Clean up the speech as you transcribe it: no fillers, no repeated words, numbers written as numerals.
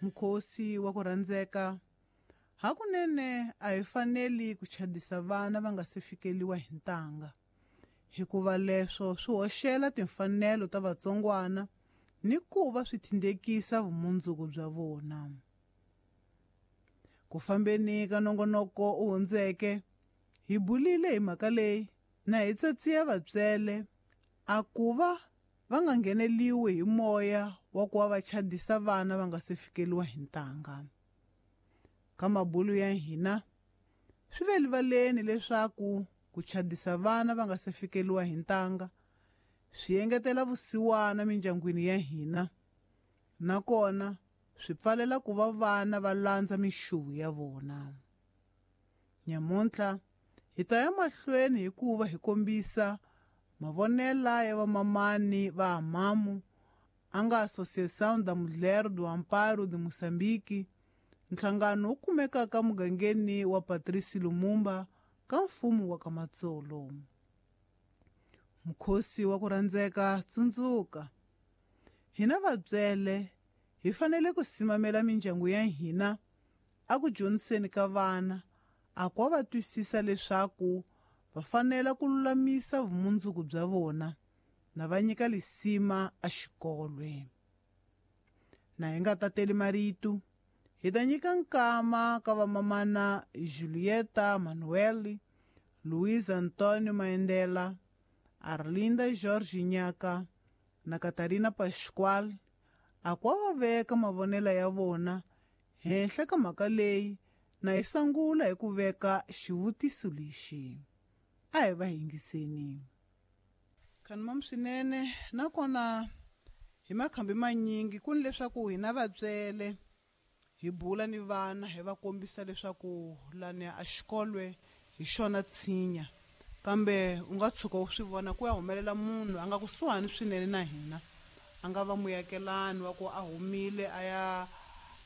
Mukhosi wa ku rhandzeka, hakunene a hi faneli ku chadisa vana va nga se fikeliwa hi ntanga, hikuva leswo swi hoxela timfanelo ta vatsongwana ni ku va swi thindekisa vumundzuku bya vona. Ku fambeni ka nongonoko u hundzeke, hi bulile hi mhaka leyi na hi tsatsiya vatswele a ku va va nga ngheneliwi hi moya wa ku va va chadisa vana va nga se fikeliwa hi ntanga. Ka mabulu ya hina, swi ve rivaleni leswaku ku chadisa vana va nga se fikeliwa hi ntanga swi engetela vusiwana mindyangwini ya hina, nakona swi pfalela ku va vana va landza minxuvu ya vona. Nyamuntlha hi ta ya mahlweni hikuva hi kombisa mavonela ya vamamani va Amamu a nga Associação da Mulher do Amparo de Moçambique, nhlangano wu kumekaka mugangeni wa Patrice Lumumba ka mfumo wa Kamatsolo. Mukhosi wa ku rhandzeka, tsundzuka, hina vatswele hi fanele ku simamela mindyangu ya hina a ku dyondziseni ka vana, a ku va twisisa leswaku va fanele ku lulamisa vumundzuku bya vona na va nyika lisima a xikolwe. Na hi nga tateli marito, hi ta nyika nkama ka vamamana Julieta Manuel, Luiz Antonio Maendela, Arlinda Jorge Nyaka na Catarina Pascual, a ku va veka mavonelo ya vona henhla ka mhaka leyi na hi sungula hi ku veka xivutiso lexi. A hi va yingiseni. Khanimam swinene, nakona hi makhambi manyingi ku ni leswaku hina vatswele hi bula ni vana hi va kombisa leswaku lani a xikolwe hi xona tshinya, kambe u nga tshuka u swi vona ku ya humelela munhu a nga kusuhani swinene na hina, a nga va muyakelani wa ku a humile a ya